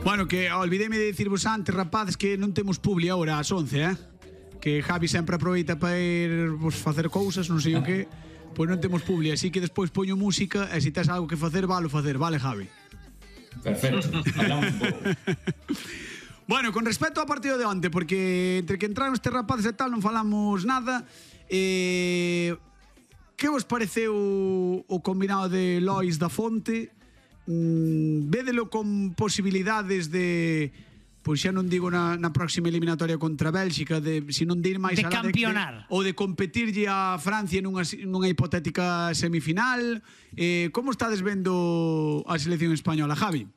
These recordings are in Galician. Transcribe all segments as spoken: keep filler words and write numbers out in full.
Bueno, que olvidéme de dicirvos antes, rapazes, que non temos publi agora ás once, eh? Que Javi sempre aproveita para ir pues, facer cousas, non sei o que. Pois non temos publi, así que despois poño música e se tes algo que facer, valo facer, vale, Javi? Perfecto, hablamos un pouco. Bueno, con respecto ao partido de onte, porque entre que entraron estes rapaces e tal non falamos nada. Eh, que vos pareceu o combinado de Lois da Fonte? Mm, védelo con posibilidades de, pois xa non digo na, na próxima eliminatoria contra Bélxica, de se non de ir máis de alá campeonar de, ou de competirlle a Francia nunha, nunha hipotética semifinal. Eh, como estades vendo a selección española, Javi?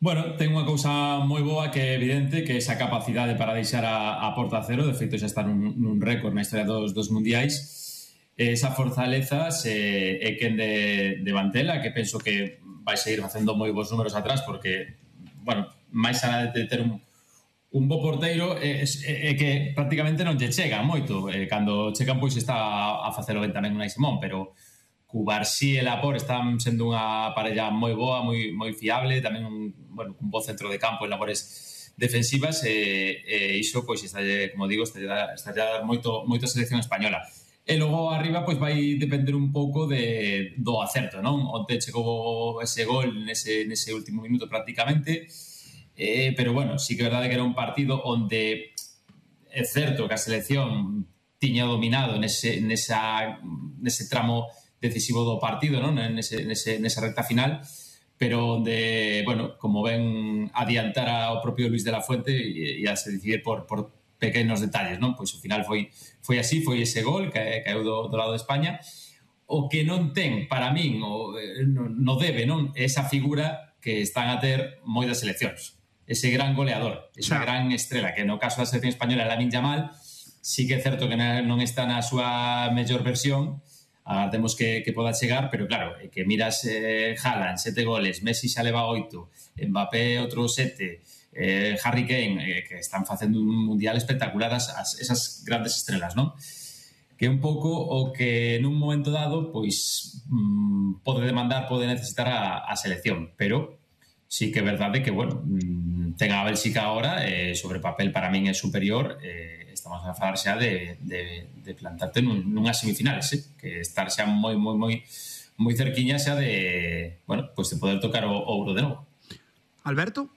Bueno, ten unha cousa moi boa que é evidente, que é esa capacidade para deixar a, a porta a cero. De feito, xa está nun, nun récord na historia dos, dos mundiais. Esa fortaleza se, é quen de, de Mantela, que penso que vai seguir facendo moi bons números atrás, porque, bueno, máis alá de ter un, un bo porteiro, é, é, é que prácticamente non lle chega moito. Eh, cando chegan, pois está a facelo ben tamén Unai Simón, pero Cubarsí e Laporte están sendo unha parella moi boa, moi, moi fiable, tamén un, bueno, un bo centro de campo en labores defensivas, e, e iso, pois, está, como digo, está a dar moito, moito a selección española. E logo arriba pois vai depender un pouco de, do acerto, non? Onte chegou ese gol nese, nese último minuto prácticamente, eh, pero bueno, sí que é verdade que era un partido onde é certo que a selección tiña dominado nese, nesa, nese tramo decisivo do partido, non? Nese, nese, nesa recta final, pero onde, bueno, como ven adiantara o propio Luis de la Fuente e a se decidir por, por pequenos detalles, non? Pois ao final foi foi así, foi ese gol que caeu do, do lado de España. O que non ten, para min, o, no, no debe, non? Esa figura que están a ter moitas seleccións. Ese gran goleador, esa sí. gran estrela, que no caso da selección española é Lamine Yamal, sí que é certo que non está na súa mellor versión, agardemos que, que poda chegar, pero claro, que miras eh, Haaland, sete goles, Messi xa leva oito, Mbappé outro sete, Eh, Harry Kane, eh, que están facendo un mundial espectacular as, as, esas grandes estrelas, non? Que é un pouco o que nun momento dado pois mmm, pode demandar, pode necesitar a, a selección, pero sí que é verdade que, bueno, mmm, ten a Bélxica agora, eh, sobre papel para min é superior, eh, estamos a falar xa de, de, de plantarte nun, nunhas semifinales, eh? Que estar xa moi, moi, moi moi cerquiña xa de, bueno, pois de poder tocar o, o ouro de novo. Alberto?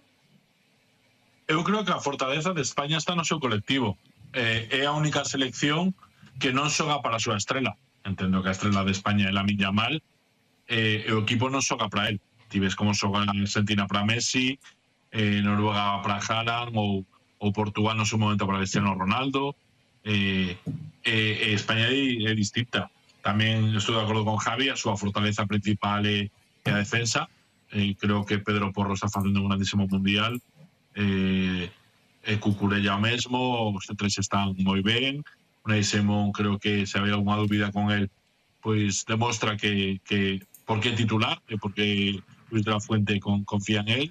Eu creo que a fortaleza de España está no seu colectivo. Eh, é a única selección que non xoga para a súa estrela. Entendo que a estrela de España é Lamine Yamal, eh, e o equipo non xoga para él. Ti ves como xoga Argentina para Messi, eh, Noruega para Haaland, ou, ou Portugal no seu momento para Cristiano Ronaldo. Eh, eh, eh, España é, é distinta. Tamén estou de acordo con Javi, a súa fortaleza principal é, é a defensa. Eh, creo que Pedro Porro está facendo un grandísimo mundial. Eh, e Cucurella o mesmo, os tres están moi ben. Unai Simón, creo que se había alguna dúbida con él, pois demostra que, que por que titular e porque Luis de la Fuente con, confía en él.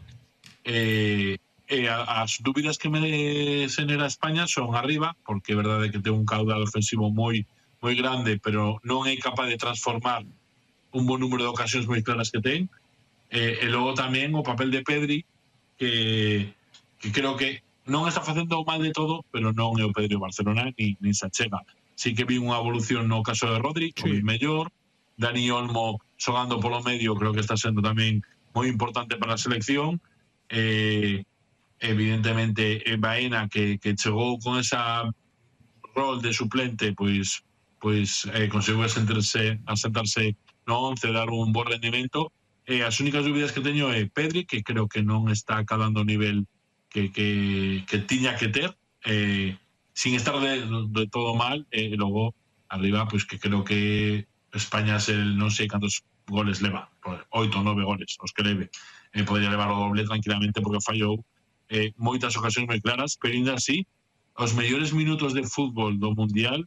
Eh, e as dúbidas que me xenera España son arriba, porque é verdade que ten un caudal ofensivo moi moi grande, pero non é capaz de transformar un bon número de ocasións moi claras que ten. Eh, e logo tamén o papel de Pedri, que que creo que non está facendo mal de todo, pero non é o Pedri Barcelona ni, ni se achega. Sí que vi unha evolución no caso de Rodri, sí. Moi mellor. Dani Olmo xogando polo medio, creo que está sendo tamén moi importante para a selección. Eh, evidentemente Baena, que, que chegou con esa rol de suplente, pois pois eh, conseguiu asentarse, asentarse no once, dar un bon rendimento. Eh, as únicas dúbidas que teño é Pedri, que creo que non está acabando o nivel que, que, que tiña que ter, eh, sin estar de, de todo mal, e eh, logo arriba, pois que creo que España se, non sei cantos goles leva, oito ou nove goles os que leve, eh, podría levar o doble tranquilamente, porque fallou eh, moitas ocasións moi claras, pero ainda así os mellores minutos de fútbol do mundial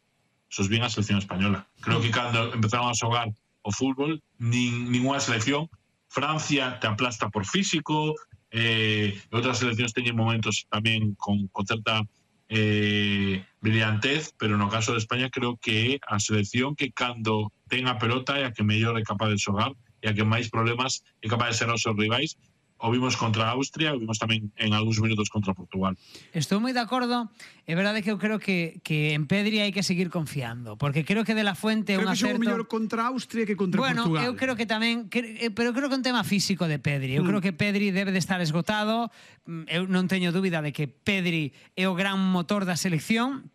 sos bien a selección española. Creo que cando empezaron a xogar o fútbol, nin, ninguna selección, Francia te aplasta por físico, eh, outras seleccións teñen momentos tamén con, con certa eh, brillantez, pero no caso de España creo que é a selección que cando ten a pelota é a que mellor é capaz de xogar e a que máis problemas é capaz de ser aos seus rivais. o vimos contra Austria, o vimos tamén en algúns minutos contra Portugal. Estou moi de acordo. É verdade que eu creo que, que en Pedri hai que seguir confiando, porque creo que De La Fuente é un Creo que xogou acerto. mellor contra Austria que contra Bueno, Portugal. eu creo que tamén, que, pero creo que é un tema físico de Pedri. Eu mm. creo que Pedri debe de estar esgotado. Eu non teño dúbida de que Pedri é o gran motor da selección.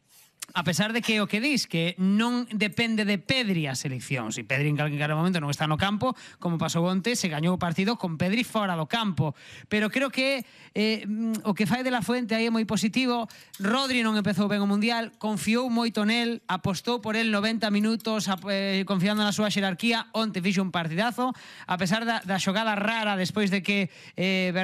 A pesar de que o que dis, que non depende de Pedri a selección. Si Pedri en calquer momento non está no campo, como pasou onte, se gañou o partido con Pedri fora do campo. Pero creo que eh, o que fai De La Fuente aí é moi positivo. Rodri non empezou ben o Mundial, confiou moito nel, apostou por el noventa minutos, eh, confiando na súa xerarquía. Onte fixo un partidazo, a pesar da, da xogada rara despois de que eh,